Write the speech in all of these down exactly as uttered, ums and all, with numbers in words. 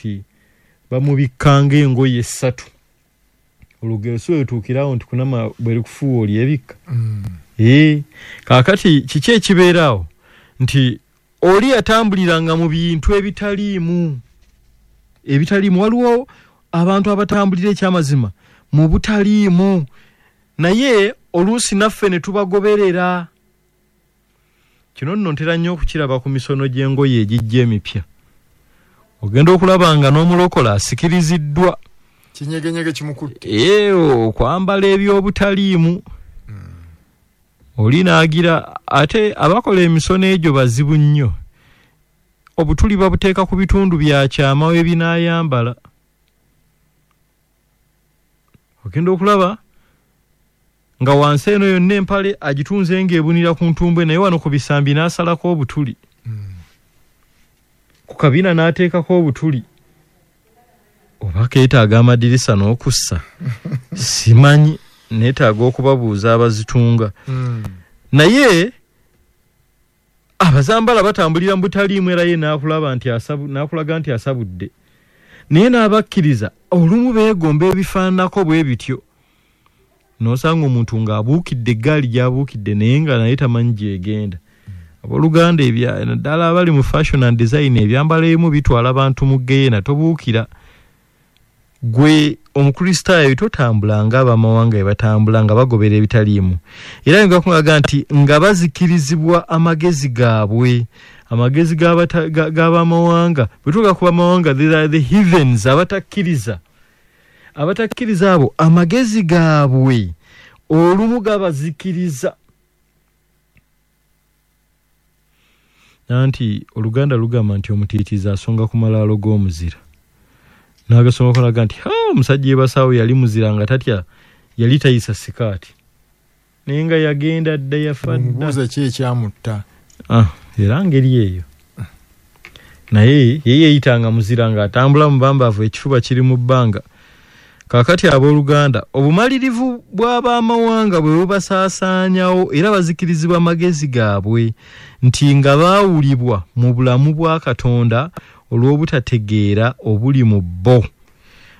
Nti bamubikkanga engoye essatu. Olugero si wetuukirawo nti kunama bwe likufuuwa olyebikka. Mm. Ee, kaakati kiki ekibeeraawo nti oli yatambuliranga mu bintu ebitaliimu ebitaliimu. Waliwo abantu abatambulira ekyamazima mu butaliimu, naye oluusi naffe ne tubagoberera. Kino nno ntera nnyo okukiraba ku misono gy'engoye egijja emipya. Ogenda okulaba nga n'omulokola asikiriziddwa, kinyegenyege kimukutte, ee, okwambala eby'obutaliimu. Oli n'agira ate abakola emisono egyo bazibu nnyo, obutuli babuteeka ku bitundu bya kyama ebinaayambala. Ogenda okulaba nga wansi eno yonna empale agitunze ng'ebunira ku ntumbwe, naye wano ku bisambi n'asalako obutuli, Mm. ku kabina n'ateekako obutuli. Oba keetaaga amadirisa n'okussa, simanyi, neetaaga okubabuuza abazitunga. Mm. Naye abazambala batambulira mu butaliimu, era ye n'akulaba nti asabu, n'akulaga nti asabudde. Naye n'abakkiriza olumu beegomba ebifaananako bwe bityo. N'osanga omuntu ng'abuukidde eggaali gy'abuukidde naye nga naye tamanyi gy'egenda. Abooluganda, ebya-, naddala abali mu fashion and design, ebyambalo ebimu bitwala abantu mu ggeyeena, tobuukira. Gwe Omukristaayo totambula ng'abamawanga bwe batambula nga bagobera ebitaliimu. Era nga kulaga nti nga bazikirizibwa amagezi gaabwe, amagezi g'abata-, ga-, g'abamawanga. Bwe tuga ku bamawanga, they are the heathens, abatakkiriza. Abatakkiriza abo amagezi gaabwe olumu gabazikiriza. Nanti Oluganda lugamba nti omutiitiizi asonga ku malaalo g'omuzira. N'agasoma kolaga nti, ha, omusajja yebasaawo yali muzira nga tatya, yali tayisa sikaati. Naye nga yagenda dda, yafa dda. Omubuuza ki ekyamutta? Ah, era ngeri eyo. Naye ye yeeyitanga muzira ng'atambula mu bambaavu, ekifuba kiri mu bbanga. Kaakati abooluganda, obumalirivu bw'abamawanga bwe bubasaasaanyawo, era bazikirizibwa amagezi gaabwe nti nga baawulibwa mu bulamu bwa Katonda olw'obutategeera obuli mu bo.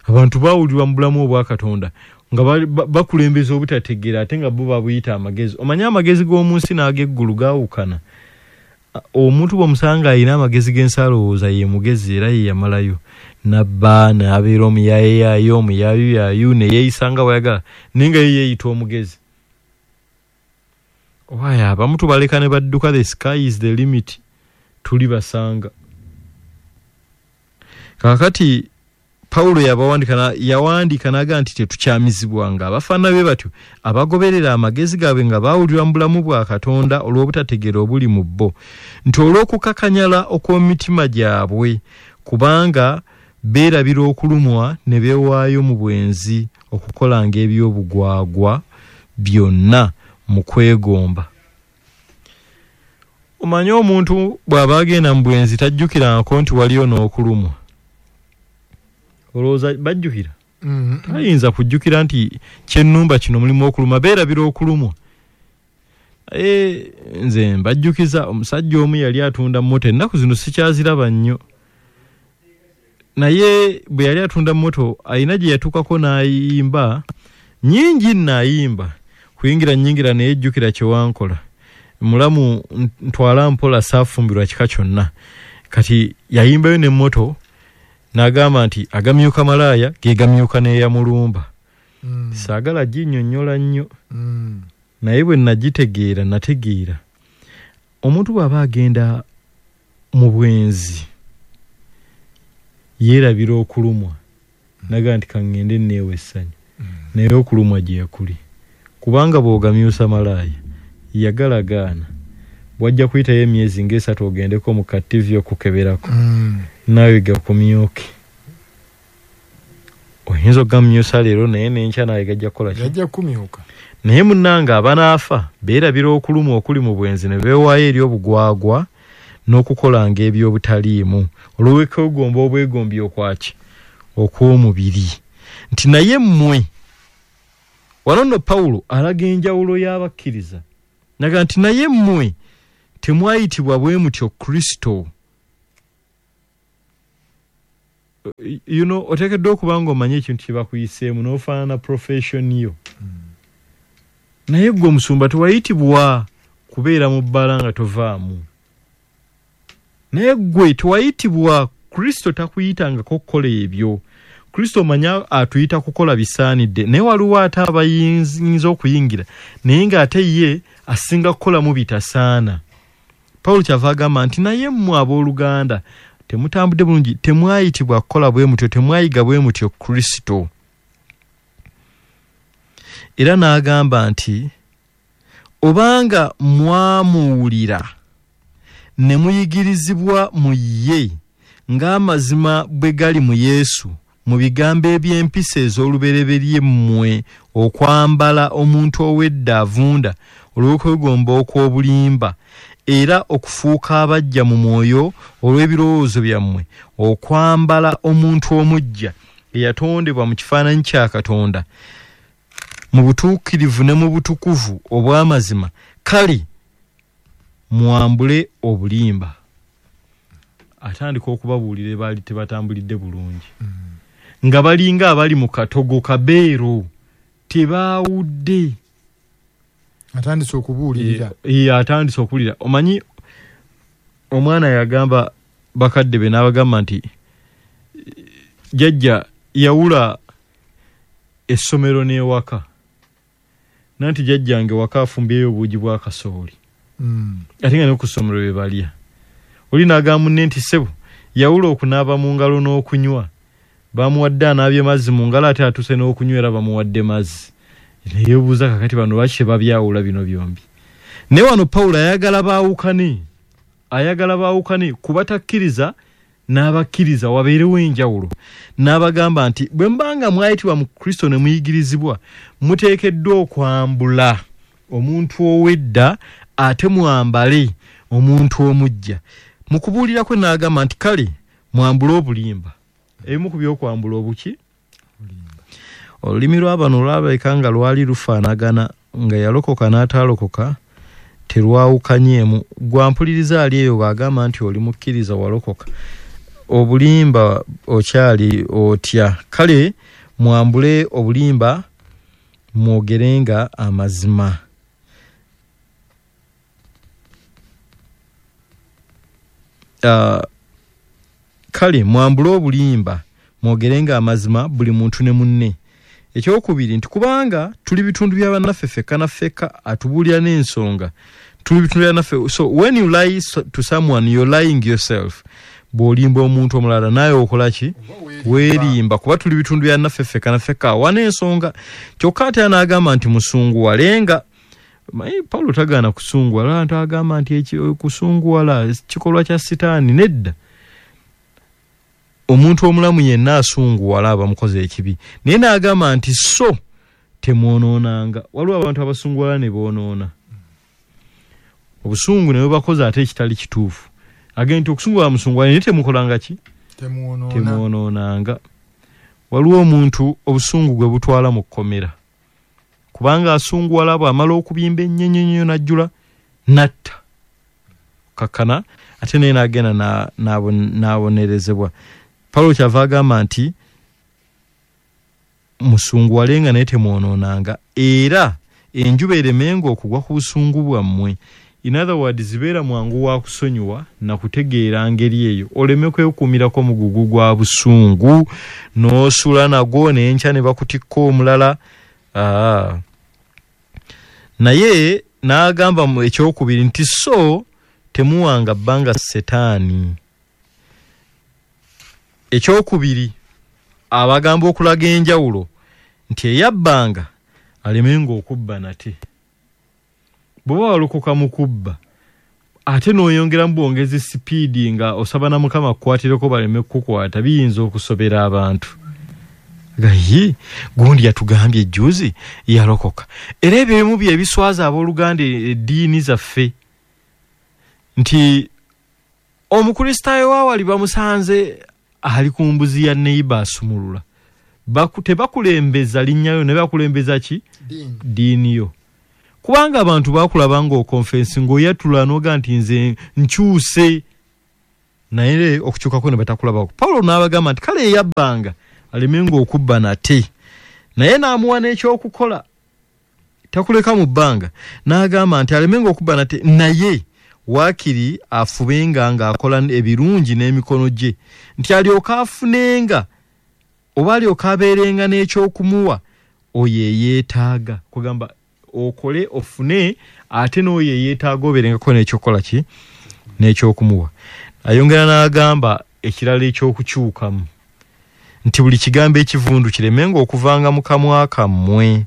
Abantu baawulibwa mu bulamu obwa Katonda nga bali-, ba-, bakulembeza obutategeera, ate nga bo babuyita amagezi. Omanye amagezi g'omu nsi n'ag'eggulu gaawukana. Omuntu bw'omusanga alina amagezi g'ensi alowooza ye mugezi era ye yamalayo, n'abba, n'abeera omuyaayeyayo, omuyayuyayu, ne yeeyisa nga bw'ayagala, naye nga ye yeeyita omugezi. Owaye, abamu tubaleka ne badduka, the sky is the limit, tuli basanga. Kaakati Pawulo yabawandiika na-, yawandiika n'agamba nti tetukyamizibwanga abafaanana be batyo abagoberera amagezi gaabwe nga baawulirwa mu bulamu bwa Katonda olw'obutategeera obuli mu bo, nti olw'okukakanyala okw'emitima gyabwe, kubanga beerabira okulumwa ne beewaayo mu bwenzi okukolanga eby'obugwagwa byonna mu kwegomba. Omanye omuntu bw'aba agenda mu bwenzi tajjukirangako nti waliyo n'okulumwa. Olowooza bajjukira? Mm-hmm. Tayinza kujjukira nti kyennumba kino mulimu okuluma, beerabira okulumwa. E, nze mbajjukiza omusajja omu yali atunda mmoto, ennaku zino sikyaziraba nnyo. Naye bwe yali atunda mmoto alina gye yatuukako n'ayimba, nnyingi nno ayimba, kuyingira nnyingira naye jjukira kye wankola. Mulamu ntwala mpola saafumbirwa kika kyonna. Kati yayimbayo n'emmoto n'agamba nti agamyuka malaaya ge gamyuka n'eyamulumba. Mm. Saagala ginnyonnyola nnyo. Mm. Naye bwe nagitegeera, nategeera. Omuntu bw'aba agenda mu bwenzi yeerabira okulumwa. N'agamba nti ka ŋŋende nneewe essanyu. Mm. Naye okulumwa gye kuli. Kubanga bw'ogamyusa malaaya, yagalagaana. Bw'ajja kuyitayo emyezi ng'esatu ogendeko mu ka T V okukeberako. Mm. Naawe gakumyuke. Oyinza okugamyusa leero naye n'enkya naawe gajja kukola ki? Gajja kumyuka. Naye munnange abanaafa beerabira okulumwa okuli mu bwenzi ne beewaayo eri obugwagwa n'okukolanga eby'obutaliimu olw'okwegomba obwegombi okwaki? Okw'omubiri. Nti naye mmwe, wano nno Pawulo alaga enjawulo y'abakkiriza. Naga nti naye mmwe temwayitibwa bwe mutyo Kristo. You know, oteekeddwa okuba ng'omanyi ekintu kye bakuyiseemu n'ofaanana profession yo. Mm. Naye ggwe omusumba tewayitibwa kubeera mu bbala nga tovaamu. Naye ggwe tewayitibwa, Kristo takuyitangako kukola ebyo. Kristo omanya atuyita kukola bisaanidde, naye waliwo ate abayinza okuyingira naye ng'ate ye asinga kukolamu bitasaana. Pawulo kyava agamba nti naye mmwe abooluganda temutambudde bulungi, temwayitibwa kukola bwe mutyo, temwayiga bwe mutyo Kristo. Era n'agamba nti obanga mwamuwulira ne muyigirizibwa mu ye ng'amazima bwe gali mu Yesu, mu bigambo eby'empisa ez'olubereberye mmwe okwambala omuntu ow'edda avunda olw'okwegomba okw'obulimba, era okufuuka abaggya mu mwoyo olw'ebirowoozo byammwe, okwambala omuntu omuggya eyatondebwa mu kifaananyi kya Katonda mu butuukirivu ne mu butukuvu obw'amazima. Kale mwambule obulimba. Atandika okubabuulira baali tebatambulidde bulungi, nga balinga abali mu katogo kabeero, tebaawudde. Atandise okubuulirira. Ye atandise okubuulira. Omanyi omwana yagamba bakadde be n'abagamba nti jjajja yawula essomero n'ewaka, nanti jjajjange waka afumbyeyo obuugi bwa kasooli, Mm. ate nga ne ku ssomero bye balya. Oli n'agamba munne nti ssebo yawula okunaaba mu ngalo n'okunywa, bamuwadde anaabye mazzi mu ngalo ate atuuse n'okunywa era bamuwadde mazzi. Neyeebuuza kakati bano lwaki tebabyawula bino byombi. Naye wano Pawulo ayagala baawukane, ayagala baawukane ku batakkiriza n'abakkiriza, wabeerewo enjawulo. N'abagamba nti bwe mubanga mwayitibwa mu Kristo ne muyigirizibwa, muteekeddwa okwambula omuntu ow'edda ate mwambale omuntu omuggya. Mu kubuulira kwe n'agamba nti kale mwambule obulimba. Ebimu ku by'okwambula obuki? Olulimi lw'abano lwalabika nga lwali lufaanagana, nga yalokoka n'ataalokoka terwawukanyeemu. Gwampuliriza ali eyo bw'agamba nti oli mukkiriza walokoka, obulimba okyali otya? Kale mwambule obulimba mwogerenga amazima. Uh, kale mwambule obulimba mwogerenga amazima buli muntu ne munne. Ekyokubiri nti kubanga tuli bitundu bya bannaffe ffekka na ffekka, atubuulira n'ensonga tuli bitundu bya bannaffe. So when you lie to someone, you're lying yourself. Bw'olimba omuntu omulala naye okola ki? Weerimba, kuba tuli bitundu bya naffe ffekka na ffekka awa n'ensonga. Kyokka ate n'agamba nti musunguwalenga. Paulo tagaana kusunguwala, nti agamba nti kusunguwala kikolwa kya Sitaani. Nedda, omuntu omulamu yenna asunguwala aba mukoze ekibi. Naye n'agamba nti so temwonoonanga. Waliwo abantu abasunguwala ne boonoona, obusungu ne bubakoza ate ekitali kituufu. Agenda nti okusunguwala musunguwala, naye temukolanga ki? Temwonoonanga. Waliwo omuntu obusungu gwe butwala mu kkomera, kubanga asunguwala bw'amala okubimba ennyo ennyo n'ajjula n'atta kakkana, ate naye n'agenda n'abonerezebwa. Pawulo kyava agamba nti musunguwalenga naye temwonoonanga, era enjuba eremenga okugwa ku busungu bwammwe. In other words, zibeera mwangu wa kusonyiwa na kutegeera ngeri eyo, oleme kwekuumirako mugugu gwa busungu n'osula nagwo n'enkya ne bakutikka omulala. Aa. Naye n'agamba mu ekyokubiri nti so temuwanga bbanga Setaani. Ekyokubiri abagamba okulaga enjawulo nti eyabbanga alemenga okubba nate. Bw'oba walokoka mu kubba ate n'oyongeramu bwongezi sipiidi nga osaba na Mukama akukwatireko baleme kukukwata, biyinza okusobera abantu. Gayi gundi yatugambye ejjuzi yalokoka. Era ebyo ebimu bye biswaza abooluganda eddiini zaffe, nti Omukristaayo waawali bamusanze ali ku mbuzi ya neighbor asumulula. Baku, tebakulembeza linnyayo ne bakulembeza ki? Ddiini yo. Kubanga abantu bakulaba ng'okonfensi ng'oyatula n'oga nti nze nkyuse, Naye okukyukako ne batakulabako. Pawulo n'abagamba nti kale eyabbanga alemenga okubba nate, naye n'amuwa n'ekyokukola, takuleka mu bbanga. N'agamba nti alemenga okubba nate, naye waakiri afubenga ng'akola ebirungi n'emikono gye, nti alyoke afunenga oba alyoke abeerenga n'ekyokumuwa oyo eyeetaaga. Kugamba okole ofune, ate n'oyo eyeetaaga obeerengako n'ekyokukola ki, n'ekyokumuwa. Ayongera n'agamba ekirala ekyokukyukamu nti buli kigambo ekivundu kiremenga okuvanga mu kamwa kammwe,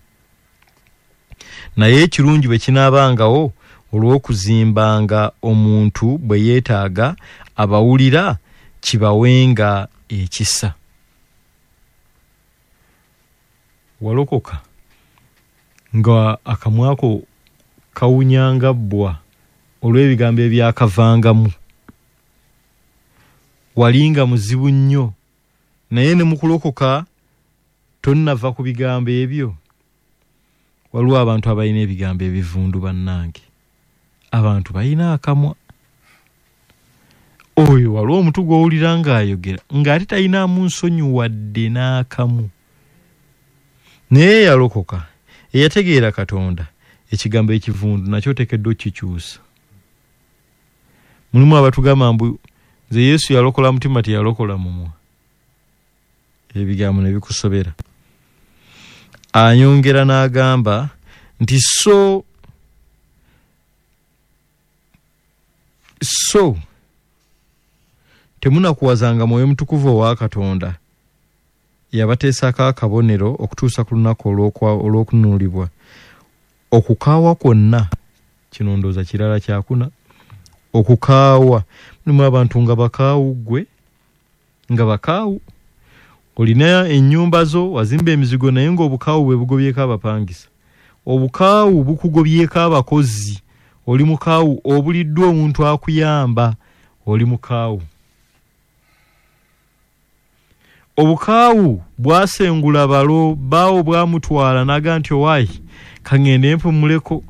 naye ekirungi bwe kinaabangawo olw'okuzimbanga omuntu bwe yeetaaga abawulira kibawenga ekisa. Walokoka nga akamwako kawunyanga bbwa olw'ebigambo ebyakavangamu, walinga muzibu nnyo, naye ne mukulokoka tonnava ku bigambo ebyo. Waliwo abantu abalina ebigambo ebivundu bannange, abantu balina akamwa. Oyo waliwo omuntu gw'owulira ng'ayogera ng'ate talinaamu nsonyi wadde n'akamu, naye yalokoka eyategeera Katonda, ekigambo ekivundu nakyo oteekeddwa okukikyusa. Mulimu abatugamba mbu nze Yesu yalokola mutima teyalokola mumwa, ebigambo ne bikusobera. Ayongera n'agamba nti so so temunakuwazanga Mwoyo Mutukuvu owa Katonda, yabateesako akabonero okutuusa ku lunaku olw'okununulibwa. Okukaawa kwonna, kino ndowooza kirala kyakuna, okukaawa. Mulimu abantu nga bakaawu ggwe, nga bakaawu, olina ennyumba zo wazimba emizigo, naye ng'obukaawu bwe bugobyeko abapangisa, obukaawu bukugobyeko abakozi, oli mukaawu, obuliddwa omuntu akuyamba, oli mukaawu. Obukaawu bwasengula balo, baawo bwamutwala n'aga nti owaayi kaŋŋende mpumuleko.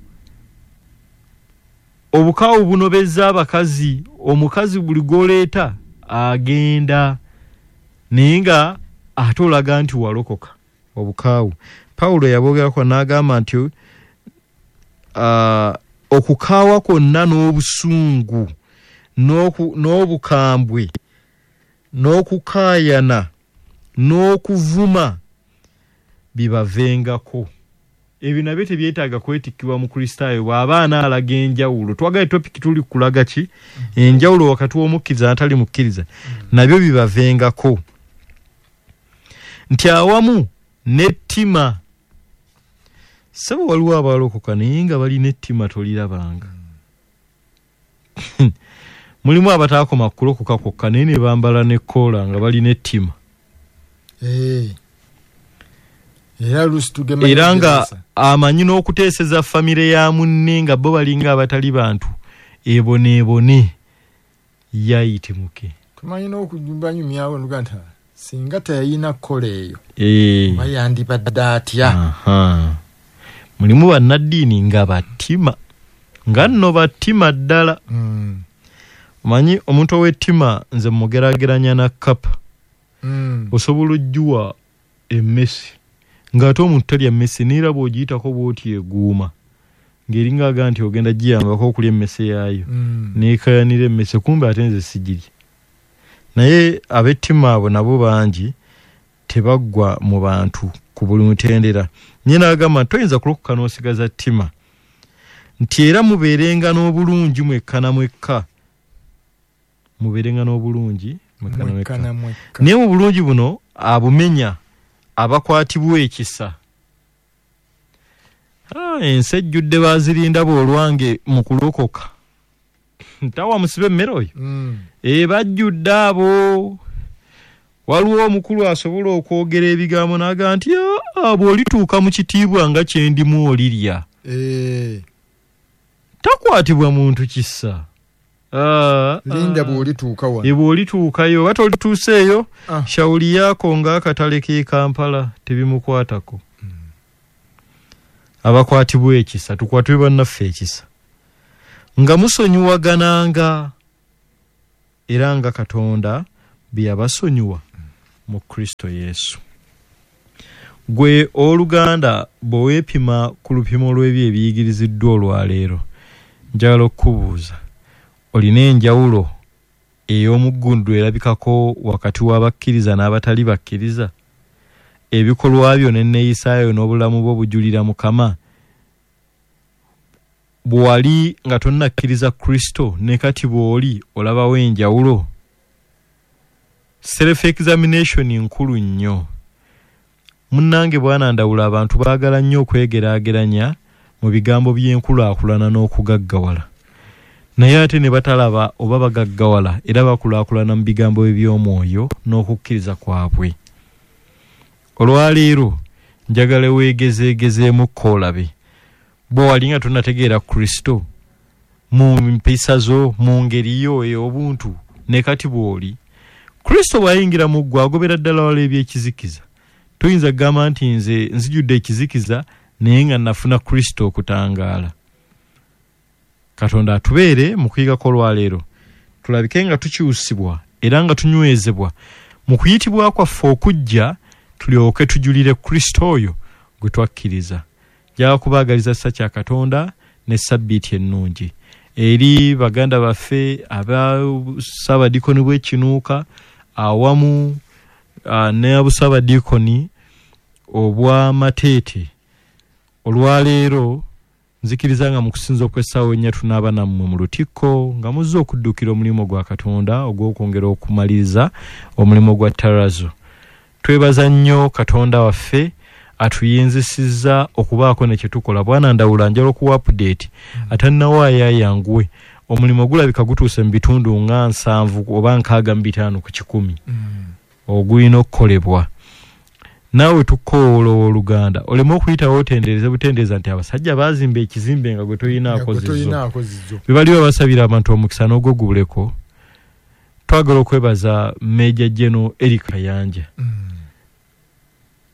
Obukaawu bunobezza abakazi, omukazi buli gw'oleeta agenda, naye nga ate olaga nti walokoka. Obukaawu Pawulo yabwogerako n'agamba nti uh, okukaawa kwonna n'obusungu n'obukambwe n'okukaayana n'okuvuma bibavengako. Ebyo nabyo tebyetaaga kwetikkibwa mu Kristaayo bw'aba anaalaga enjawulo. Twagala topiki tuli kulaga ki enjawulo wakati w'omukkiriza n'atali mukkiriza, nabyo bibavengako. Nti awamu n'ettima, ssebo waliwo abalokoka naye nga balina ettima tolirabanga. Mulimu abataakoma kulokoka kwokka naye ne bambala n'ekkoola nga balina ettima. Era nga amanyi n'okuteeseza famire ya munne nga bo balinga abatali bantu, eboneebone yayitimuke. Tumanyi n'okubanyumyawo nuga nti singa teyalina kkola eyo oba yandibadde atya. Mulimu bannaddiini nga battima, nga nno battima ddala. Omanyi omuntu ow'ettima nze mugeraageranya na kkapa. Osobola ojjuwa emmese ng'ate omuntu talya mmese, neera bw'ogiyitako bw'oti eguuma ng'eringa aga nti ogenda giyambako okulya emmese yaayo, neekayanira emmese, kumbe ate nze sigirya. Naye ab'ettima abo nabo bangi tebaggwa mu bantu ku buli mutendera. Nye n'agamba nti toyinza kulokoka n'osigaza ttima, nti era mubeerenga n'obulungi mwekka na mwekka, mubeerenga n'obulungi mwekka na mwekka. Naye mu bulungi buno abumenya abakwatibwa ekisa. Ah, ensi ejjudde bazirinda bw'olwange mu kulokoka. Ntawa musibe emmere oyo. Mm. E bajjudde abo. Waliwo omukulu asobola okwogera ebigambo n'agamba nti bw'olituuka mu kitiibwa nga kye ndimu olirya. Eh. Takwatibwa muntu kisa. Ah, linda bw'olituuka wano. E bw'olituukayo oba tolituuseeyo, ah. Shauli yako ng'akatale k'e Kampala tebimukwatako. Mm. Abakwatibwa ekisa, tukwatibwe bannaffe ekisa. Nga musonyiwagananga. era nga Katonda bye yabasonyiwa mu Kristo Yesu. Gwe oluganda bwe weepima ku lupimo lw'ebyo ebiyigiriziddwa olwaleero, njagala okukubuuza, olina enjawulo ey'omuggundu erabikako wakati w'abakkiriza n'abatali bakkiriza? Ebikolwa byo n'enneeyisaayo n'obulamu bwo bujulira Mukama? Bwe wali nga tonnakkiriza Kristo ne kati bw'oli olabawo enjawulo? Self examination nkulu nnyo. Munnange bwana Ndawula, abantu baagala nnyo okwegeraageranya mu bigambo by'enkulaakulana n'okugaggawala, naye ate ne batalaba oba bagaggawala era bakulaakulana mu bigambo eby'omwoyo n'okukkiriza kwabwe. Olwaleero njagala weegezeegezeemu kkoolabe bwe wali nga tonnategeera Kristo mu mpisa zo, mu ngeri yo ey'obuntu ne kati bw'oli. Kristo bw'ayingira mu ggwe agobera ddala wala ebyekizikiza. Toyinza kugamba nti nze nzijudde ekizikiza naye nga nafuna Kristo okutangaala. Katonda atubeere mu kuyigako olwaleero, tulabike nga tukyusibwa era nga tunywezebwa mu kuyitibwa kwaffe okujja, tulyoke tujulire Kristo oyo gwe twakkiriza. Njagala kubaagaliza kisa kya Katonda ne sabbiiti ennungi eri baganda baffe aba Ssaabadiikoni bw'Ekinuuka awamu uh, n'obussaabadiikoni obw'Amateete. Olwaleero nzikiriza nga mu kusinza okw'essaawa ennya tunaaba nammwe mu lutikko nga muzze okuddukira omulimu gwa Katonda ogw'okwongera okumaliriza omulimu gwa Tarazo. Twebaza nnyo Katonda waffe atuyinzisizza okubaako ne kye tukola. Bwana Ndawula, njagala okuwa update atannawaayo ayanguwe. Omulimu gulabika gutuuse mu bitundu nga nsanvu oba nkaaga mu bitaano ku kikumi ogulina okukolebwa. Naawe tukoowoola owooluganda oleme okuyitawo otendereze butendereza nti abasajja baazimba ekizimbe nga gwe tolinaako zizo. Be baliwo basabira abantu omukisa n'ogwogubuleko. Twagala okwebaza Major General Eric Kayanja.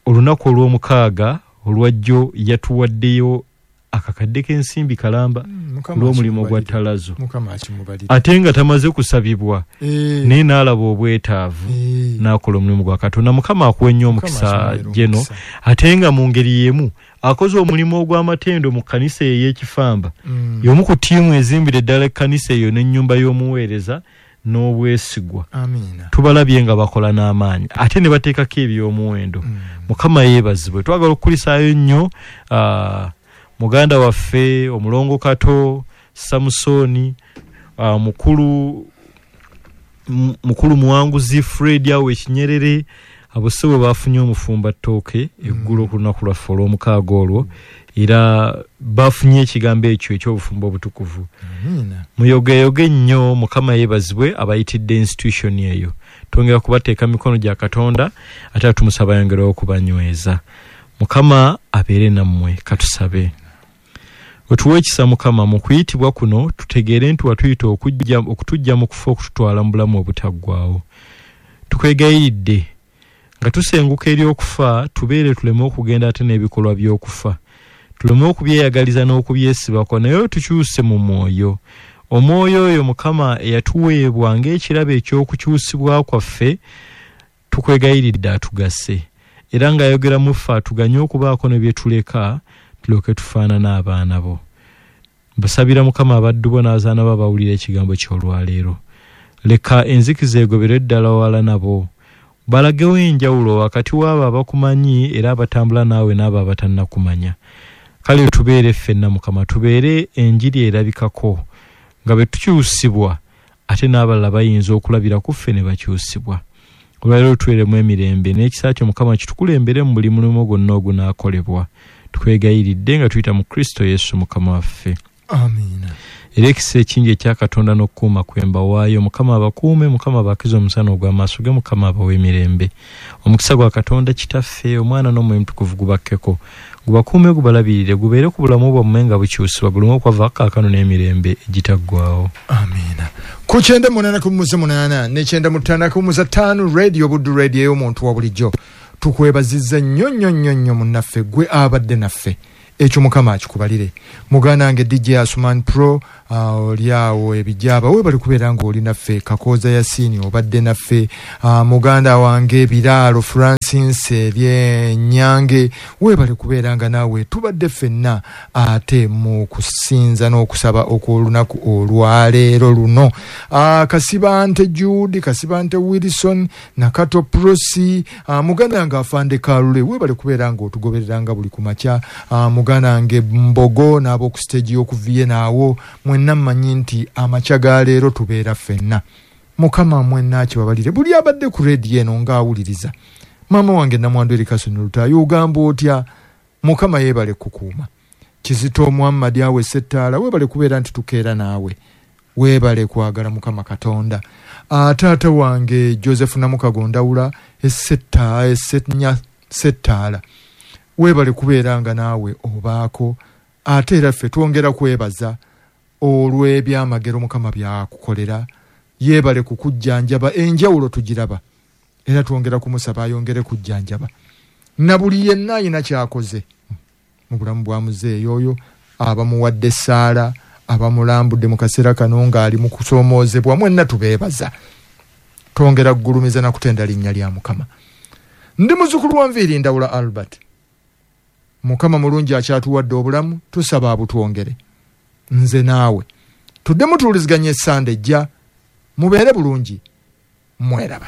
Olunaku olw'omukaaga olwajjo yatuwaddeyo akakadde k'ensimbi kalamba olw'omulimu gwa Talazo, ate nga tamaze kusabibwa e. naye n'alaba obwetaavu e. n'akola omulimu gwa Katonda. Mukama akuwe nnyo omukisa Geno, ate nga mu ngeri y'emu akoze omulimu ogw'amatendo mu kkanisa ey'Ekifamba. Mm. Y'omu ku ttiimu ezimbira eddala ekkanisa eyo n'ennyumba y'omuweereza n'obwesigwa. Tubalabye nga bakola n'amaanyi ate ne bateekako eby'omuwendo. Mm. Mukama yeebazibwe. Twagala okukulisaayo nnyo uh, muganda waffe omulongo Kato Samusoni, uh, mukulu mukulu Muwanguzi Fred awo Ekinyerere, abo si bwe bafunye omufumba ttooke eggulo ku lunaku lwaffe olw'omukaaga olwo, era bafunye ekigambo ekyo eky'obufumbo obutukuvu. Muyogeyoge nnyo. Mukama yeebazibwe abayitidde institution eyo. Twongera kubateeka mikono gya Katonda ate tumusaba ayongere okubanyweza. Mukama abeere nammwe. Katusabe. Otuwe ekisa Mukama mu kuyitibwa kuno, tutegeere nti watuyita okujja okutujja mu kufa okututwala mu bulamu obutaggwaawo. Tukwegayiridde nga tusenguka eri okufa, tubeere tuleme okugenda ate n'ebikolwa by'okufa, tuleme okubyeyagaliza n'okubyesibako, naye tukyuse mu mwoyo. Omwoyo oyo Mukama eyatuweebwa ng'ekirabo eky'okukyusibwa kwaffe, tukwegayiridde atugase, era ng'ayogera mu ffe atuganye okubaako ne bye tuleka, tulyoke tufaanane abaana bo. Mbasabira Mukama abaddu bo n'abazaana bo abawulira ekigambo ky'olwaleero. Leka enzikiza egobere ddala wala nabo, balagewo enjawulo wakati w'abo abakumanyi era abatambula naawe n'abo abatannakumanya. Kale tubeere ffenna Mukama, tubeere enjiri erabikako nga bwe tukyusibwa, ate n'abalala bayinza okulabira ku ffe ne bakyusibwa. Olwaleero tuweremu emirembe n'ekisa kyo Mukama kitukulembere mu buli mulimu gwonna ogunaakolebwa. Tukwegayiridde nga tuyita mu Kristo Yesu Mukama waffe. Amiina. Era ekisa ekingi ekya Katonda n'okukuuma kwe mbawaayo, Mukama abakuume, Mukama abakize omusana ogw'amaaso ge, Mukama abawe emirembe. Omukisa gwa Katonda Kitaffe, Omwana n'Omwoyo Omutukuvu gubakkeko, gubakuume, gubalabirire, gubeere ku bulamu bwammwe nga bukyusibwa, gulume okwava kaakano n'emirembe egitaggwaawo. Amiina. Ku kyenda munaana ku muze munaana ne kyenda mu ttaano ku muze ttaano, Radio Buddu, radio ey'omuntu wa bulijjo. Tukwebazizza nnyo nnyo nnyo nnyo munnaffe gwe abadde naffe Ekyo Mukama akikubalire. Muganda wange D J Asuman Pro, uh, oli awo ebijaba, webale kubeera ng'oli naffe. Kakooza Yasini obadde naffe. uh, muganda wange Biraalo Francis ebyenyange, webale kubeera nga naawe tubadde ffenna ate mu kusinza n'okusaba okw'olunaku olwaleero luno. uh, Kasibante Jude, Kasibante Wilson, Nakato Prosi, uh, muganda wange Afande Kalule, webale kubeera ng'otugobereranga buli kumakya. uh, muganda wange Mbogo n'ab'oku stage y'okuviye naawo, mwenna mmanyi nti amakya ga leero tubeera ffenna. Mukama mwenna akibabalire. Buli abadde ku rediyo eno ng'awuliriza, maama wange Namwandu Erikasoni Lutaaya, ogamba otya? Mukama yeebale kukuuma. Kizito Muhammad awe Settaala, weebale kubeera nti tukeera naawe, weebale kwagala Mukama Katonda. Taata wange Joseph Namukago Ndawula Esetta Esenya Settaala, weebale kubeera nga naawe obaako. Ate era ffe twongera kwebaza olw'ebyamagero Mukama byakukolera. Yeebale kukujjanjaba, enjawulo tugiraba, era twongera kumusaba ayongere kujjanjaba na buli yenna ayina kyakoze mu bulamu bwa muzeeyi oyo, abamuwadde essaala, abamulambudde mu kaseera kano ng'ali mu kusoomoozebwa, mwenna tubeebaza. Twongera kugulumiza na kutenda linnya lya Mukama. Ndi muzzukulu wa Nviiri Ndawula Albert. Mukama mulungi akyatuwadde obulamu, tusaba abutwongere. Nze naawe tuddemu tuwuliziganye essande ejja. Mubeere bulungi, mweraba.